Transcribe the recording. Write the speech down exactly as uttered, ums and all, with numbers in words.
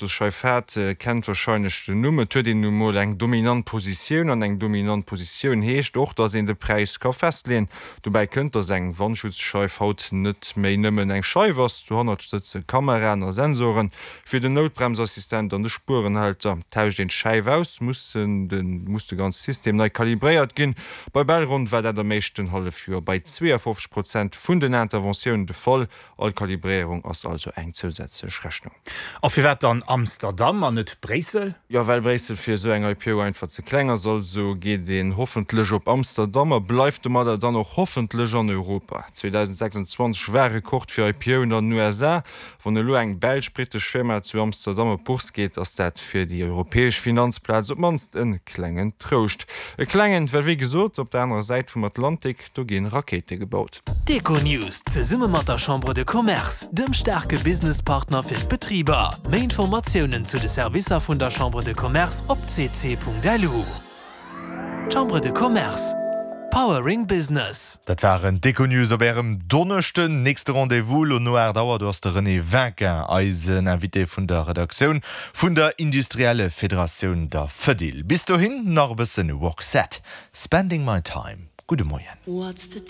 Autosscheif hat, kennt warscheinlech den Numm. Et huet een nu mol eng dominant Positioun an eng dominant Positioun heescht och, dass een de Präis ka festleeën. Dobäi kënnt, dass eng Wandschutzscheif haut net méi nëmmen eng Scheif ass, dohannert sëtze Kameraen a Sensoren fir den Noutbremsassistent an de Spuerenhalter. Tauscht een d'Scheif aus, muss den muss de ganze System nei kalibréiert ginn. Bei Belron war dat am éischten Hallefjoer bei zweeafofzeg Prozent vun den Interventiounen de Fall. All Kalibréierung ass also eng zousätzlech Rechnung. A firwat dann Amsterdam an net Bréissel? Jo, well Bréissel fir esou eng I P O einfach ze kleng ass. Also geet een hoffentlech op Amsterdam a bleift domadder dann och hoffentlech an Europa. zweedausendsechsundzwanzeg war Rekord fir I P Oen an den U S A. Wann elo eng belsch-brittesch Firma zu Amsterdam op d'Bourse geet, ass dat fir déi europäesch Finanzplaz op d'mannst e klengen Trouscht. E klengen, well wéi gesot, op der anerer Säit vum Atlantik, do gi Rakéite gebaut. D'Econews zesumme mat der Chambre de Commerce, dem staarke Businesspartner fir d'Betriber. Méi Informatiounen zu de Servicer vun der Chambre de Commerce op C C Punkt L U. Chambre de Commerce. Powering Business. Dat waren d'Econews op ärem Donneschden. Nächste Rendez-vous lo no aacht Auer, do ass de René Vinquin eisen Invité vun der Redaktioun vun der Industrielle Federatioun, der Fedil. Bis dohin nach e bëssen Roxette. Spending My Time. Gudde Moien. What's the